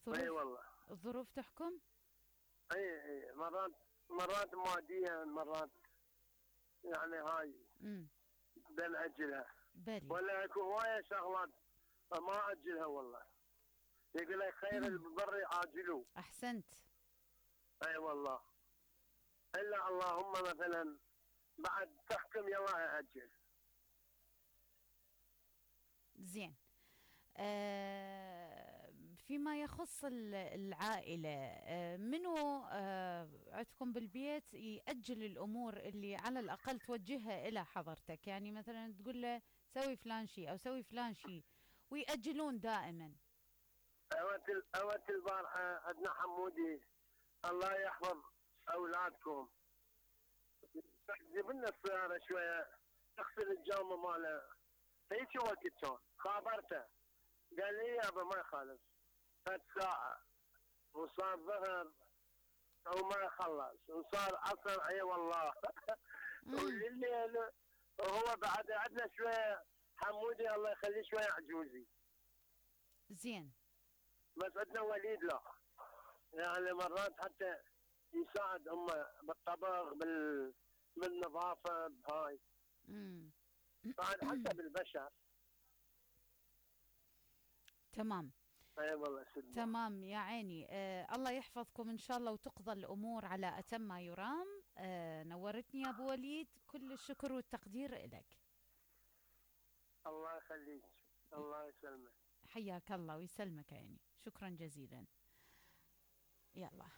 اي الظروف والله. الظروف تحكم. اي مرات ماديا، مرات يعني هاي امم بنأجلها. بلي. ولا اكو هواية شغلات ما اجلها والله. يقول لك خير البر عاجله. احسنت. اي والله. الا اللهم مثلا بعد تحكم يلا اجل. زين. فيما يخص العائلة، منو عندكم بالبيت يأجل الأمور اللي على الأقل توجهها إلى حضرتك؟ يعني مثلا تقول له سوي فلان شيء أو سوي فلان شيء ويأجلون دائما. اوت البارحة عندنا حمودي، الله يحفظ اولادكم، جيب لنا السيارة شوية تغسل الجامة ماله. هيك وقت كان خابرته، قال لي يابا ما يخالف، فات ساعة وصار ظهر وما خلص وصار عصر. اي والله. امم والليل وهو بعد عندنا شوية حمودي الله يخليه شوية عجوزي، زين. بس عندنا وليد لا، يعني مرات حتى يساعد هم بالطبخ بالنظافة بهاي. امم بعد حسب البشر. تمام. اي والله سيدنا. تمام يا عيني. الله يحفظكم إن شاء الله وتقضى الأمور على أتم ما يرام. نورتني يا أبو وليد، كل الشكر والتقدير إلك. الله يخليك، الله يسلمك. حياك الله ويسلمك يا عيني، شكرا جزيلا. يلا.